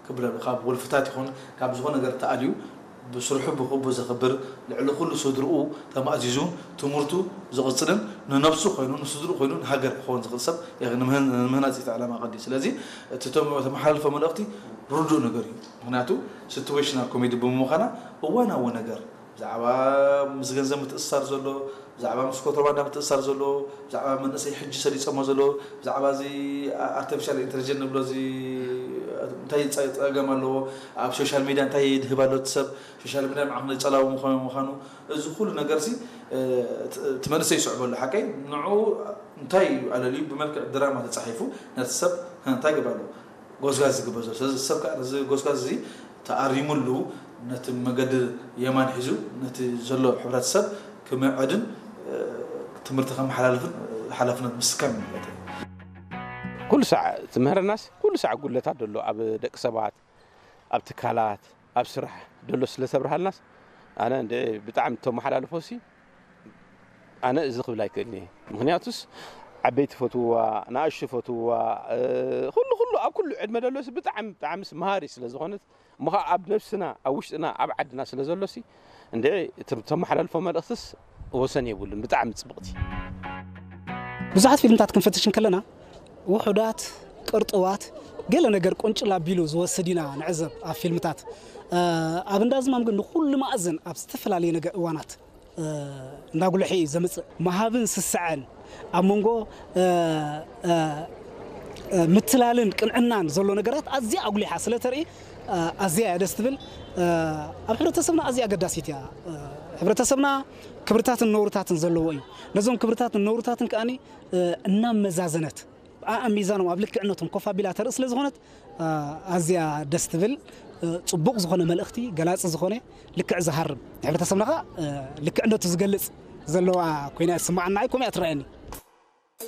ክብረ ካብ ወልፍታት ይኹን ካብ ዝኾነ ነገር ተኣልዩ ብስርሑ ብክቡ ዘኽብር፣ ልዕሊ ኩሉ ስድርኡ ተማእዚዙ ትምህርቱ ዝቕጽልን ንነብሱ ኮይኑ ንስድርኡ ኮይኑ ንሃገር ክኸውን ዝኽእል ሰብ ንምህናጽ እቲ ዕላማ ቀዲ። ስለዚ እቲ ተመሓላልፎ መልእኽቲ ርዱእ ነገር እዩ። ምክንያቱ ሲትዌሽናል ኮሜዲ ብምዃና እዋናዊ ነገር ብዛዕባ ምስ ገንዘብ ምትእስሳር ዘሎ፣ ብዛዕባ ምስ ኮንትሮባንዳ ምትእስሳር ዘሎ፣ ብዛዕባ መንእሰይ ሕጂ ሰሊጸሞ ዘሎ፣ ብዛዕባ እዚ ኣርቲፊሻል ኢንተሊጀንስ ንብሎ እዚ እንታይ ጸ- ጸገም ኣለዎ፣ ኣብ ሶሻል ሚድያ እንታይ ይድህብ ኣሎ እቲ ሰብ፣ ሶሻል ሚድያ ንዓኹም ጸላዊ ምዃኑ ምዃኑ፣ እዚ ኩሉ ነገር ሲ እቲ መንእሰይ ይስዕበሉ ሓቀይ ንዑ እንታይ ኣለልዩ ብመልክዕ ድራማ ተጻሒፉ ነቲ ሰብ እንታይ ገባሉ ጎስጋዝ ዝግበር ዘሎ። ስለዚ ሰብ ከዓ ነዚ ጎስጋዝ እዚ ተኣሪሙሉ ነቲ መገዲ የማን ሒዙ ነቲ ዘሎ ሕብረተሰብ ክምዕድን ትምህርቲ ከመሓላልፍን ሓላፍነት ምስካም ማለት እዩ። ኩሉ ሳዕ ትምህረናስ ኩሉ ሳዕ ጉለታት ደሎ ኣብ ደቂ ሰባት ኣብ ትካላት ኣብ ስራሕ ደሎ ስለ ተብርሃልናስ ኣነ እንደ ብጣዕሚ ተመሓላልፎ ሲ ኣነ እዚ ክብል ኣይክእልን እየ። ምክንያቱስ ዓበይቲ ፈትውዋ ንኣሽቱ ፈትውዋ ኩሉ ኩሉ ኣብ ኩሉ ዕድመ ደሎስ ብጣዕሚ ብጣዕምስ መሃሪ ስለ ዝኾነት እሞ ከዓ ኣብ ነብስና ኣብ ውሽጥና ኣብ ዓድና ስለ ዘሎሲ እንደ ተመሓላልፎ መልእክትስ ወሰን የብሉን። ብጣዕሚ ፅብቕቲ ብዙሓት ፊልምታት ክንፈትሽ እንከለና ውሑዳት ቅርጥዋት ገለ ነገር ቁንጭል ኣቢሉ ዝወስድ ኢና ንዕዘብ ኣብ ፊልምታት ኣብ እንዳዝማም ግን ንኩሉ ማእዝን ኣብ ዝተፈላለየ ነገር እዋናት እንዳጉልሒ እዩ ዘምፅእ መሃብን ስስዐን ኣብ መንጎ ምትላልን ቅንዕናን ዘሎ ነገራት ኣዝያ ኣጉሊሓ ስለ ተርኢ ኣዝያ እያ ደስ ትብል ኣብ ሕብረተሰብና ኣዝያ ኣገዳሲት እያ ሕብረተሰብና ክብርታትን ነውርታትን ዘለዎ እዩ ነዞም ክብርታትን ነውርታትን ከኣኒ እናመዛዘነት ኣኣሚዛኖም ኣብ ልክዕነቶም ኮፍ ኣቢላ ተርኢ ስለ ዝኾነት ኣዝያ ደስ ትብል ፅቡቕ ዝኾነ መልእኽቲ ገላፂ ዝኾነ ልክዕ ዝሃርም ንሕብረተሰብና ከዓ ልክዕነቱ ዝገልፅ ዘለዋ ኮይና ስማዓና ኣይ ኮሚያ ትረኣየኒ